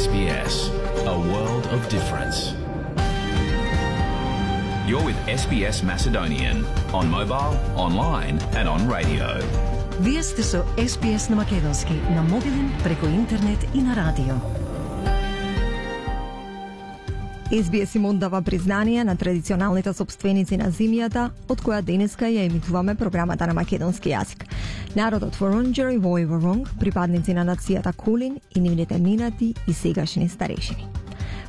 SBS, a world of difference. You're with SBS Macedonian on mobile, online and on radio. Вие сте со SBS на македонски, на мобилен, преку интернет и на радио. SBS им дава признание на традиционалните собственици на земјата, од која денеска ја емитуваме програмата на македонски јазик. Народот Воронџер и Војворонг, припадници на нацијата Кулин и нивните минати и сегашни старешини.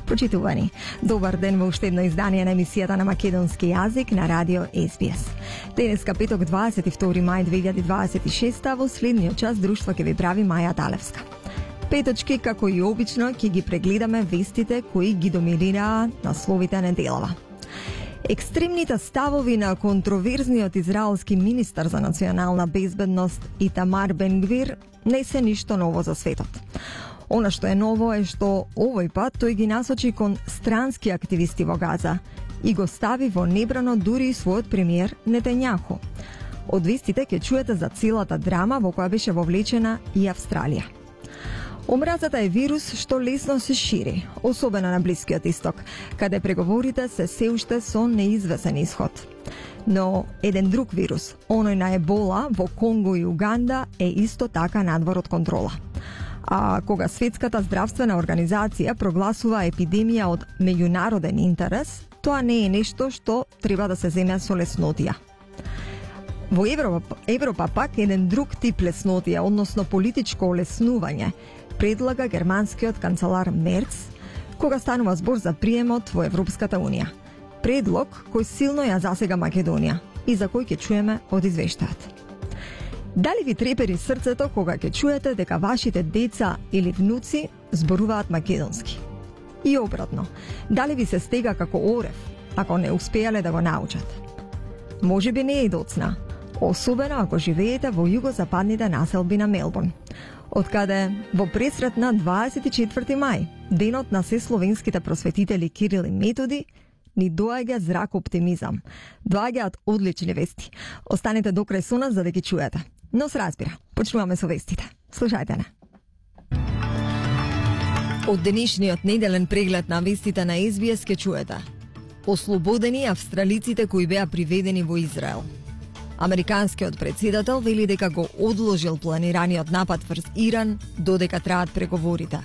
Почитувани, добар ден во уште едно издание на емисијата на македонски јазик на радио SBS. Денеска петок 22 мај 2026 во следниот час друштво ќе ви прави Маја Далевска. Петочки, како и обично, ќе ги прегледаме вестите кои ги доминираа насловите неделава. Екстремните ставови на контроверзниот израелски министар за национална безбедност Итамар Бен-Гвир не се ништо ново за светот. Она што е ново е што овој пат тој ги насочи кон странски активисти во Газа и го стави во небрано дури и својот премиер Нетањаху. Од вестите ќе чуете за целата драма во која беше вовлечена и Австралија. Омразата е вирус што лесно се шири, особено на Блискиот исток, каде преговорите се уште со неизвестен исход. Но еден друг вирус, оној на Ебола во Конго и Уганда, е исто така надвор од контрола. А кога Светската здравствена организација прогласува епидемија од меѓународен интерес, тоа не е нешто што треба да се земе со леснотија. Во Европа пак еден друг тип леснотија, односно политичко олеснување, предлага германскиот канцелар Мерц кога станува збор за приемот во Европската Унија. Предлог кој силно ја засега Македонија и за кој ќе чуеме од извештајот. Дали ви трепери срцето кога ќе чуете дека вашите деца или внуци зборуваат македонски? И обратно, дали ви се стега како орев ако не успеале да го научат? Може би не е доцна, особено ако живеете во југозападните населби на Мелбурн, откаде во пресрет на 24 мај, денот на сесловенските просветители Кирил и Методи, ни доаѓа зрак оптимизам. Доаѓаат одлични вести. Останете до крај со нас за да ги чуете. Но се разбира, почнуваме со вестите. Слушајте не. Од денешниот неделен преглед на вестите на SBS ке чуете. Ослободени австралиците кои беа приведени во Израел. Американскиот председател вели дека го одложил планираниот напад врз Иран додека траат преговорите.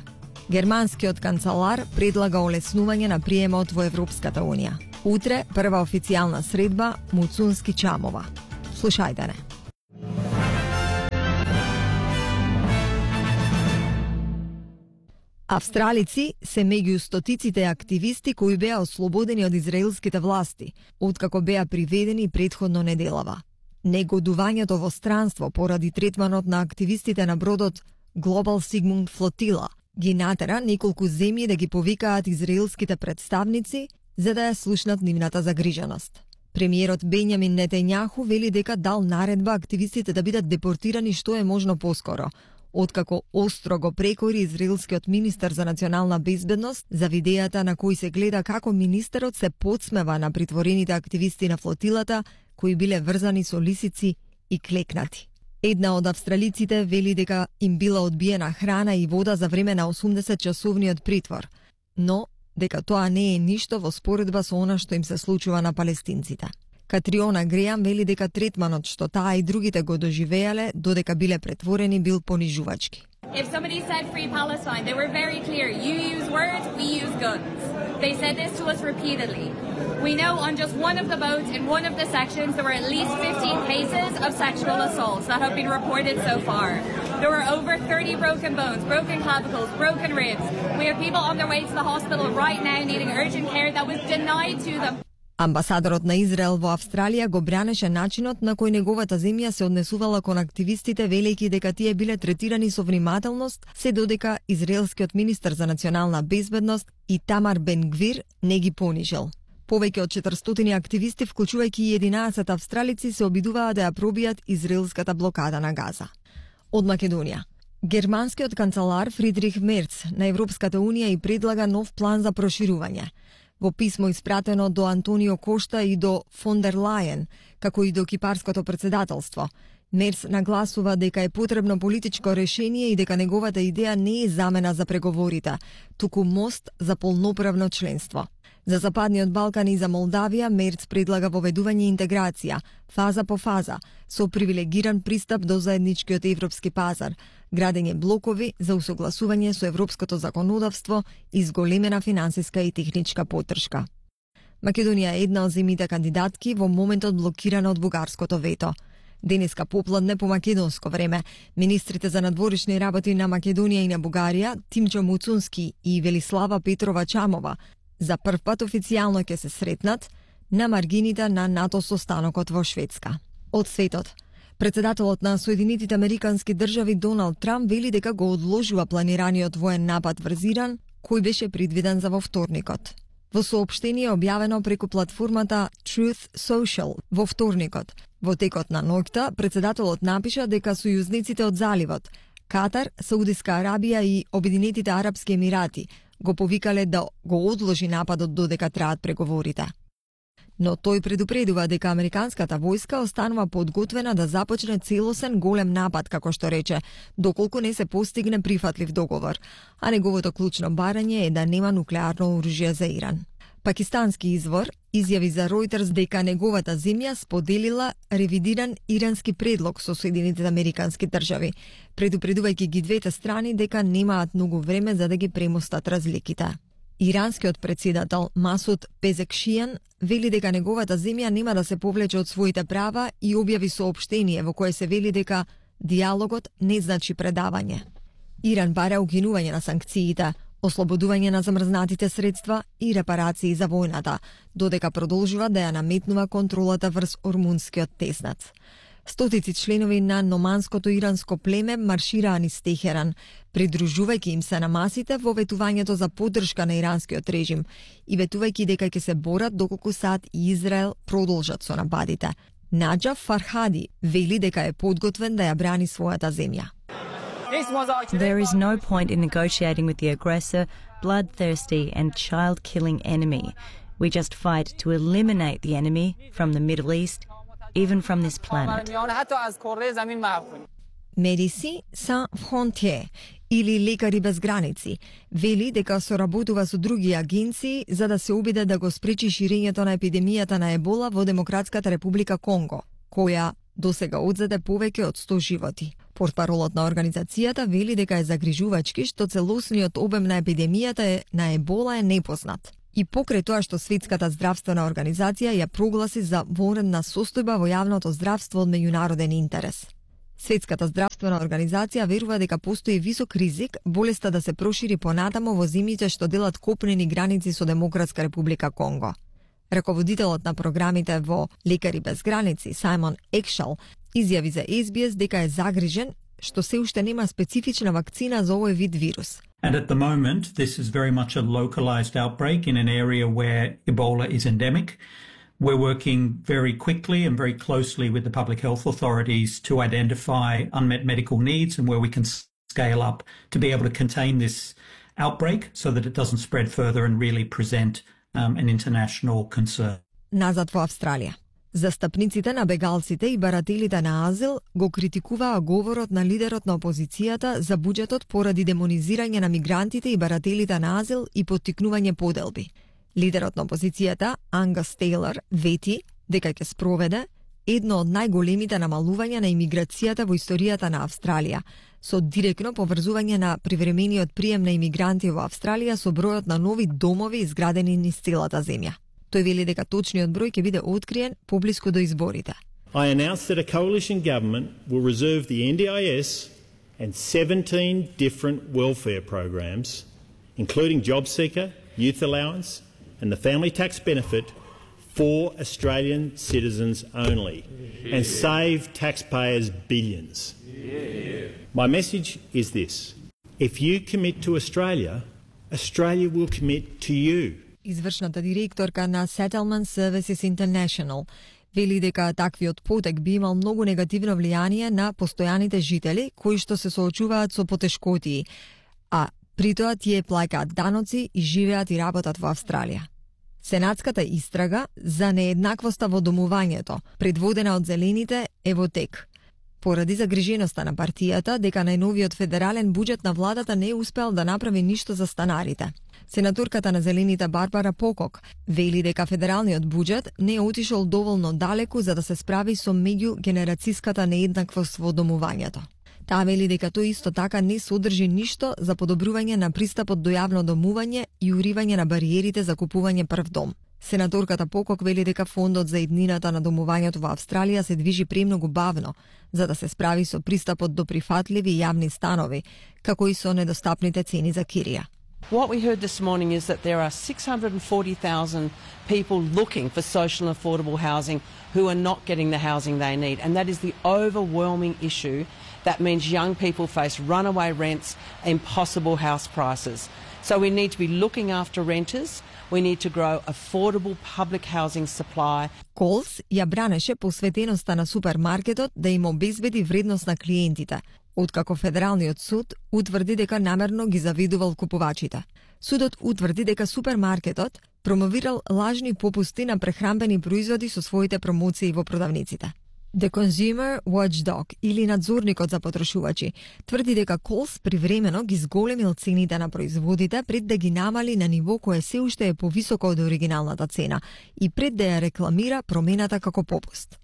Германскиот канцелар предлага олеснување на приемот во Европската Унија. Утре прва официјална средба Муцунски-Чамова. Слушајте не. Австралици се меѓу стотиците активисти кои беа ослободени од израелските власти, откако беа приведени претходно неделава. Негодувањето во странство поради третманот на активистите на бродот Global Sigmund Flotilla ги натера неколку земји да ги повикаат израелските представници за да ја слушнат нивната загриженост. Премиерот Бенјамин Нетањаху вели дека дал наредба активистите да бидат депортирани што е можно поскоро, откако остро го прекори израелскиот министар за национална безбедност за видејата на кој се гледа како министерот се подсмева на притворените активисти на флотилата кои биле врзани со лисици и клекнати. Една од австралиците вели дека им била одбиена храна и вода за време на 80-часовниот притвор, но дека тоа не е ништо во споредба со она што им се случува на палестинците. Катриона Греам вели дека третманот што таа и другите го доживеале додека биле претворени бил понижувачки. If somebody said free Palestine, they were very clear. You use words, we use guns. They said this to us repeatedly. We know on just one of the boats in one of the sections there were at least 15 cases of sexual assaults that have been reported so far. There were over 30 broken bones, broken clavicles, broken ribs. We have people on their way to the hospital right now needing urgent care that was denied to them. Амбасадорот на Израел во Австралија го бранеше начинот на кој неговата земја се однесувала кон активистите, велејќи дека тие биле третирани со внимателност, се додека израелскиот министар за национална безбедност Итамар Бен-Гвир не ги понижил. Повеќе од 400 активисти, вклучувајќи и 11 австралици, се обидуваа да ја пробијат израелската блокада на Газа. Од Македонија. Германскиот канцелар Фридрих Мерц на Европската Унија и предлага нов план за проширување. Во писмо испратено до Антонио Кошта и до фон дер Лајен, како и до кипарското председателство, Мерц нагласува дека е потребно политичко решение и дека неговата идеја не е замена за преговорите, туку мост за полноправно членство. За Западниот Балкан и за Молдавија Мерц предлага воведување интеграција, фаза по фаза, со привилегиран пристап до заедничкиот европски пазар, градење блокови за усогласување со европското законодавство и зголемена финансиска и техничка поддршка. Македонија е една од земјите кандидатки во моментот блокирана од бугарското вето. Денеска попладне по македонско време, министрите за надворешни работи на Македонија и на Бугарија, Тимчо Муцунски и Велислава Петрова Чамова, за прв пат официјално ќе се сретнат на маргините на НАТО состанокот во Шведска. Од светот, председателот на Соединетите Американски држави Доналд Трамп вели дека го одложува планираниот воен напад врз Иран, кој беше предвиден за во вторникот. Во соопштение објавено преку платформата Truth Social во вторникот, во текот на ноќта, председателот напиша дека сојузниците од заливот, Катар, Саудиска Арабија и Обединетите Арапски Емирати го повикале да го одложи нападот додека траат преговорите. Но тој предупредува дека американската војска останува подготвена да започне целосен голем напад, како што рече, доколку не се постигне прифатлив договор, а неговото клучно барање е да нема нуклеарно оружје за Иран. Пакистански извор изјави за Reuters дека неговата земја споделила ревидиран ирански предлог со Соединетите Американски држави, предупредувајќи ги двете страни дека немаат многу време за да ги премостат разликите. Иранскиот председател Масуд Пезекшијан вели дека неговата земја нема да се повлече од своите права и објави соопштение во кое се вели дека диалогот не значи предавање. Иран бара укинување на санкциите, ослободување на замрзнатите средства и репарации за војната, додека продолжува да ја наметнува контролата врз Ормунскиот теснат. Стотици членови на номанското иранско племе маршираа низ Техеран, придружувајќи им се на масите во ветувањето за поддршка на иранскиот режим и ветувајќи дека ќе се борат доколку САД и Израел продолжат со нападите. Наџаф Фархади вели дека е подготвен да ја брани својата земја. There is no point in negotiating with the aggressor, bloodthirsty and child-killing enemy. We just fight to eliminate the enemy from the Middle East, even from this planet. Медици Sans Frontières или Лекари без граници вели дека соработува со други агенции за да се обиде да го спречи ширењето на епидемијата на ебола во Демократската република Конго, која досега одзеде повеќе од 100 животи. Портпаролот на организацијата вели дека е загрижувачки што целосниот обем на епидемијата на ебола е непознат. И покрај тоа што Светската здравствена организација ја прогласи за вонредна состојба во јавното здравство од меѓународен интерес. Светската здравствена организација верува дека постои висок ризик болеста да се прошири понатамо во земјите што делат копнени граници со Демократска република Конго. Раководителот на програмите во Лекари без граници, Сајмон Екшал, изјави за SBS дека е загрижен што се уште нема специфична вакцина за овој вид вирус. And at the moment, this is very much a localized outbreak in an area where Ebola is endemic. We're working very quickly and very closely with the public health authorities to identify unmet medical needs and where we can scale up to be able to contain this outbreak so that it doesn't spread further and really present an international concern. Назад во Австралија. Застапниците на бегалците и барателите на азил го критикуваа говорот на лидерот на опозицијата за буџетот поради демонизирање на мигрантите и барателите на азил и поттикнување поделби. Лидерот на опозицијата, Ангас Тейлор, вети дека ќе спроведе едно од најголемите намалувања на имиграцијата во историјата на Австралија, со директно поврзување на привремениот прием на имигранти во Австралија со бројот на нови домови изградени низ целата земја. Тој вели дека точниот број ќе биде откриен поблиску до изборите. I announced that a coalition government will reserve the NDIS and 17 different welfare programs, including JobSeeker, Youth Allowance and the Family Tax Benefit for Australian citizens only and save taxpayers billions. My message is this. If you commit to Australia, Australia will commit to you. Извршната директорка на Settlement Services International вели дека таквиот потек би имал многу негативно влијание на постојаните жители кои што се соочуваат со потешкотии, а при тоа тие плаќаат даноци и живеат и работат во Австралија. Сенатската истрага за нееднаквоста во домувањето, предводена од зелените, е во тек. поради загриженоста на партијата дека најновиот федерален буџет на владата не е успел да направи ништо за станарите. Сенаторката на Зелените Барбара Покок вели дека федералниот буџет не е отишол доволно далеку за да се справи со меѓугенерацијската нееднаквост во домувањето. Таа вели дека тој исто така не содржи ништо за подобрување на пристапот до јавно домување и уривање на бариерите за купување прв дом. Сенаторката Покок вели дека фондот за иднината на домувањето во Австралија се движи премногу бавно за да се справи со пристапот до прифатливи јавни станови, како и со недостапните цени за кирија. What we heard this morning is that there are 640,000 people looking for social and affordable housing who are not getting the housing they need, and that is the overwhelming issue. That means young people face runaway rents, impossible house prices. So we need to be looking after renters. We need to grow affordable public housing supply. Колс ја бранеше посветеноста на супермаркетот да им обезбеди вредност на клиентите, откако Федералниот суд утврди дека намерно ги завидувал купувачите. Судот утврди дека супермаркетот промовирал лажни попусти на прехранбени производи со своите промоции во продавниците. The Consumer Watchdog или надзорникот за потрошувачи тврди дека Колс привремено ги зголемил цените на производите пред да ги намали на ниво кое се уште е повисоко од оригиналната цена и пред да ја рекламира промената како попуст.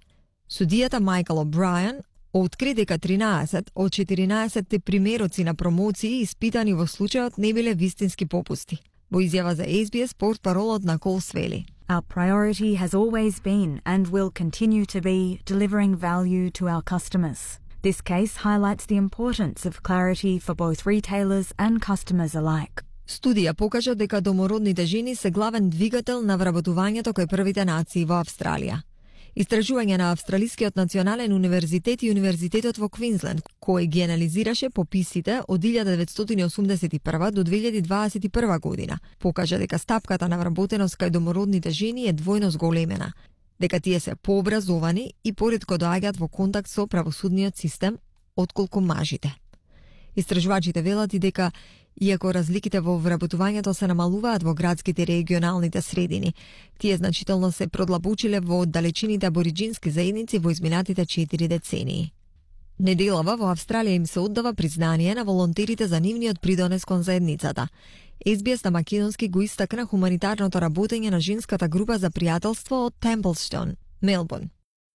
Судијата Майкл О'Брајан откри дека 13 од 14 примероци на промоции испитани во случајот не биле вистински попусти. Во изјава за SBS, портпаролот на Колс вели: Our priority has always been and will continue to be delivering value to our customers. This case highlights the importance of clarity for both retailers and customers alike. Студија покажа дека домородните жени се главен двигател на вработувањето кај првите нации во Австралија. Истражување на Австралискиот национален универзитет и Универзитетот во Квинсленд, кој ги анализираше пописите од 1981 до 2021 година, покажа дека стапката на вработеност кај домородните жени е двојно зголемена, дека тие се пообразовани и поретко доаѓаат во контакт со правосудниот систем отколку мажите. Истражувачите велат и дека иако разликите во вработувањето се намалуваат во градските и регионалните средини, тие значително се продлабочиле во оддалечените абориџински заедници во изминатите 4 децении. Неделава во Австралија им се оддава признание на волонтерите за нивниот придонес кон заедницата. SBS на македонски го истакна хуманитарното работење на женската група за пријателство од Темплстон, Мелбурн.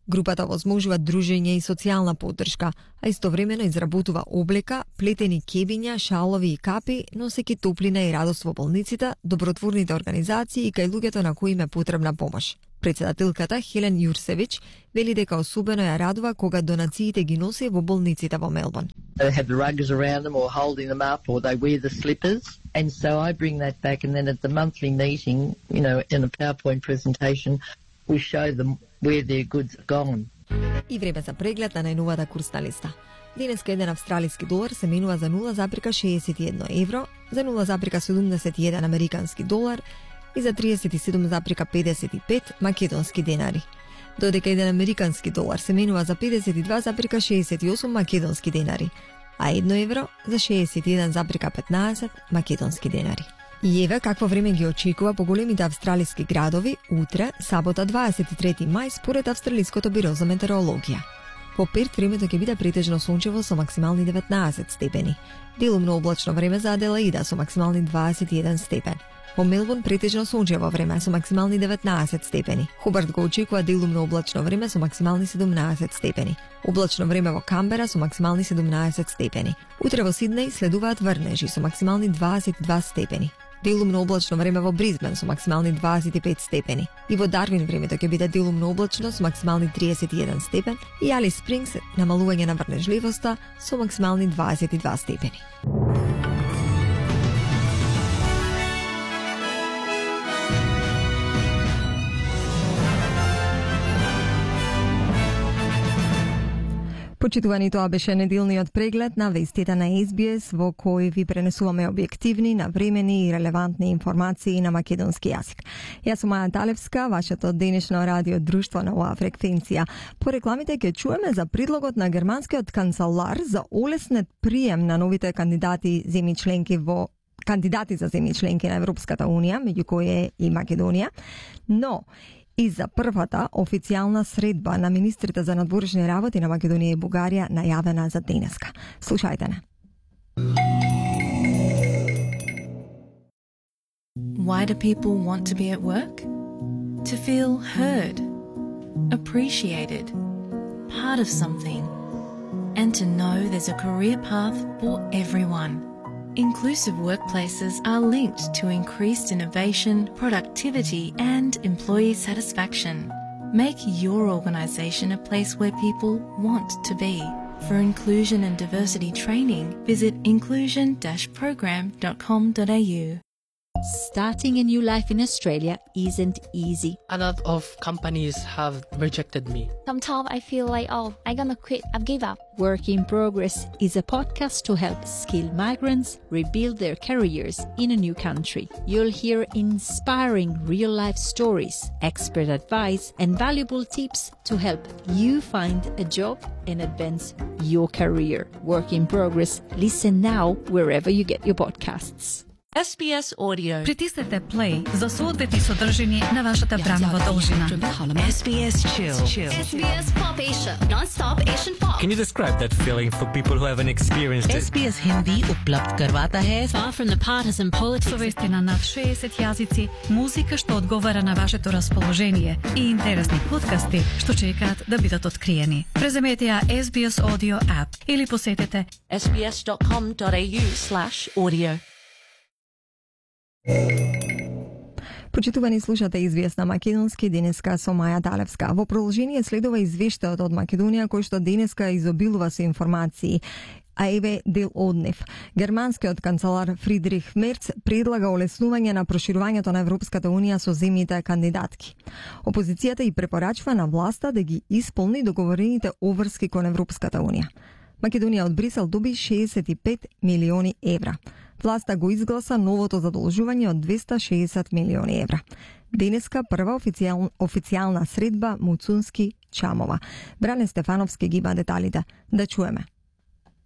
Групата возможува дружење и социјална поддршка, а истовремено изработува облека, плетени кебиња, шалови и капи, носеки топлина и радост во болниците, добротворните организации и кај луѓето на кои им е потребна помош. Председателката Хелен Јурсевич вели дека особено ја радува кога донациите ги носи во болниците во Мелбурн. They have the rugs around them or holding them up or they wear the slippers. And so I bring that back and then at the monthly meeting, in a PowerPoint presentation, we show them where their goods are gone. И време за преглед на најновата курсна листа. Денеска еден австралиски долар се менува за 0,61 евро, за 0,71 американски долар и за 37,55 македонски денари. Додека еден американски долар се менува за 52,68 македонски денари, а 1 евро за 61,15 македонски денари. И еве какво време ги очекува по големите австралиски градови утре, сабота 23 мај, според Австралиското биро за метеорологија. По Перт времето ќе биде претежно сончево со максимални 19 степени. Делумно облачно време за Аделаида со максимални 21 степен. Во Мелбурн претежно сончево време со максимални 19 степени. Хобарт го очекува делумно облачно време со максимални 17 степени. Облачно време во Камбера со максимални 17 степени. Утре во Сиднеј следуваат врнежи со максимални 22 степени. Делумно облачно време во Бризбен со максимални 25 степени. И во Дарвин времето ќе биде делумно облачно со максимални 31 степен и Алис Спрингс намалување на врнежливоста со максимални 22 степени. Почитувани, тоа беше неделниот преглед на вестите на SBS, во кој ви пренесуваме објективни, навремени и релевантни информации на македонски јазик. Јас сум Маја Талевска, вашето денешно радио друштво на оваа фреквенција. По рекламите ќе чуеме за предлогот на германскиот канцелар за олеснет прием на новите кандидати за земји членки на Европската Унија, меѓу кои е и Македонија. Но И за првата официјална средба на министрите за надворешни работи на Македонија и Бугарија најавена за денеска. Слушајте не. Why do people want to be at work? To feel heard, appreciated, part of something, and to know there's a career path for everyone. Inclusive workplaces are linked to increased innovation, productivity, and employee satisfaction. Make your organisation a place where people want to be. For inclusion and diversity training, visit inclusion-program.com.au. Starting a new life in Australia isn't easy. A lot of companies have rejected me. Sometimes I feel like, I'm gonna quit, I've give up. Work in Progress is a podcast to help skilled migrants rebuild their careers in a new country. You'll hear inspiring real-life stories, expert advice, and valuable tips to help you find a job and advance your career. Work in Progress. Listen now wherever you get your podcasts. SBS Audio. Притиснете play за соодветни содржини на вашата времева должина. SBS Chill. SBS Pop Asia. Non-stop Asian pop. Can you describe that feeling for people who haven't experienced it? SBS Hindi उपलब्ध करवाता है far from the partisan politics. Совести на над 60 јазици, музика што одговара на вашето расположение и интересни подкасти што чекаат да бидат откриени. Преземете ја SBS Audio app или посетете sbs.com.au/audio. Почитувани, слушате SBS на македонски денеска со Маја Талевска. Во продолжение следува извештајот од Македонија кој што денеска изобилува со информации. А еве дел од нив. Германскиот канцелар Фридрих Мерц предлага олеснување на проширувањето на Европската Унија со земјите кандидатки. Опозицијата и препорачува на власта да ги исполни договорените обврски кон Европската Унија. Македонија од Брисел доби 65 милиони евра. Власта го изгласа новото задолжување од 260 милиони евра. Денеска прва официјална средба Муцунски Чамова. Бране Стефановски ги има деталите. Да чуеме.